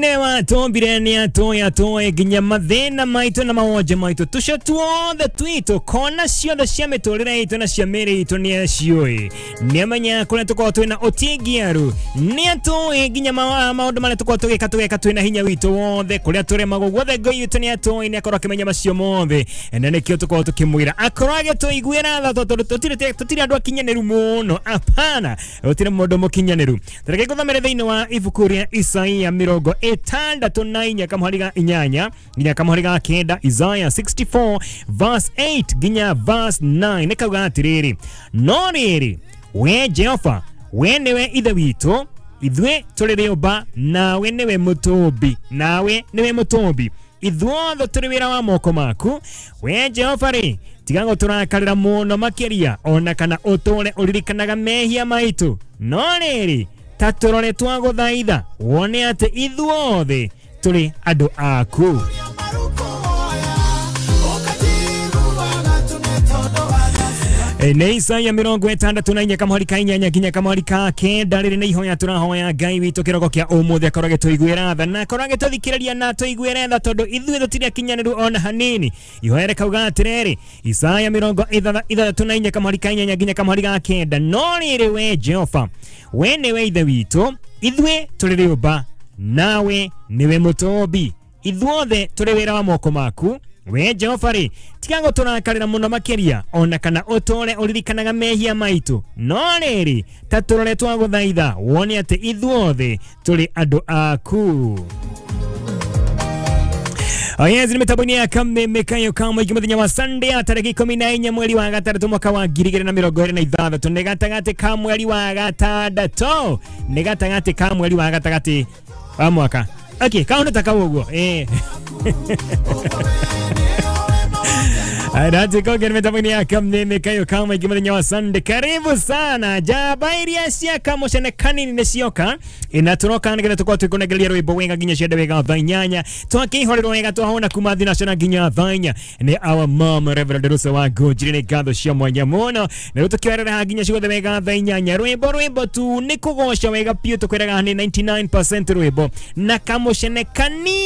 Nĩwatũmbire nĩ atũĩ atũĩ nginya mathĩna maitũ na mawonje maitũ tũcio tuothe twitũ kona ciothe cia mĩtũrĩre itũ na cia mĩĩrĩ itũ nĩ aciũĩ nĩamenyaga kũrĩa tũkoragwo twĩna ũtingiaru nĩ atũĩ nginya maũndũ marĩa tũkoragwo tũgĩka tũgeka twĩna hinya witũ wothe kũrĩa tũremagwo guothe Ngai witũ nĩ atũĩ nĩ akorwo akĩmenya macio mothe na nĩkĩo tũkoragwo tũkĩmwĩra akorwo agĩtũiguĩra tha tondũ tũtirĩ andũ akinyanĩru mũno apana gũtirĩ mũndũ mũkinyanĩru. Tareke ngũthomere thĩinĩ wa ibuku rĩa Isaia 64 kamũhari ga 8 nginya kamũhari ga 9, Isaiah 64 verse 8 nginya verse 9 nĩ kauga atĩrĩrĩ, no rĩrĩ we Jehova we nĩwe ithe witũ ithuĩ tũrĩ rĩũmba nawe nĩwe mũtũmbi nawe nĩwe mũtũmbi ithuothe tũrĩ wĩra wa moko maku. We Jehova rĩ tiga gũtũrakarĩra mũno makĩria ona kana ũtũre ũririkanaga mehia maitũ, no rĩrĩ ta tũrore twagũthaitha wone atĩ ithuothe tũrĩ andũ aku. Nĩ Isaia 64 kamũhari ka 8 nginya kamũhari ka 9. Rĩrĩ nĩ ihoya tũrahoya Ngai witũ kĩroko kĩa ũmũthĩ akorwo agĩtũiguĩra tha na akorwo agĩtũthikĩrĩria na atũiguĩre tha tondũ ithuĩ tũtirĩ akinyanĩru ona hanini. Ihoya rĩkauga atĩrĩrĩ, Isaia 64 kamũhari ka 8 nginya kamũhari ga 9, no rĩrĩ we Jehova we nĩwe ithe witũ ithuĩ tũrĩ rĩũmba nawe nĩwe mũtũmbi ithuothe tũrĩ wĩra wa moko maku. We Jehova rĩ tiga gũtũrakarĩra mũno makĩria ona kana ũtũre ũririkanaga mehia maitũ, no rĩrĩ ta tũrore twagũthaitha wone atĩ ithuothe tũrĩ andũ aku. Yes, ni mitambo-inĩ ya Kameme Kayo ka mũingĩ mũthenya wa Sunday tarĩki 14 mweri wa gatandatũ mwaka wa 2026 nĩ gatagatĩ ka mweri wa gatandatũ nĩ gatagatĩ ka mweri wa gatagatĩ wa mwaka. Okay, kaũndũ ta kau ũguo Natikoge mitambo-inĩ ya Kameme Kayo ka mũingĩ mũthenya wa Sunday. Karibu sana njamba iria cia Kamũcene kanini nĩ cioka na tũroka nĩgetha tũkorwo twĩkũnengereria rwĩmbo wega nginya ciende wega thaa 8 twakĩihũrĩrwo wega twahũna kuma thinacara nginya thaa 4 nĩ our mom Reverend Rusa wa Ngũnjiri nĩ ngatho cia mwanya mũno na rĩu tũkĩoerera nginya ciothe wega thaa 8 rwĩmbo rwĩmbo tu nĩ kũgoca wega biũ tũkwĩraga nĩ 99% rwĩmbo na Kamũcene kanini.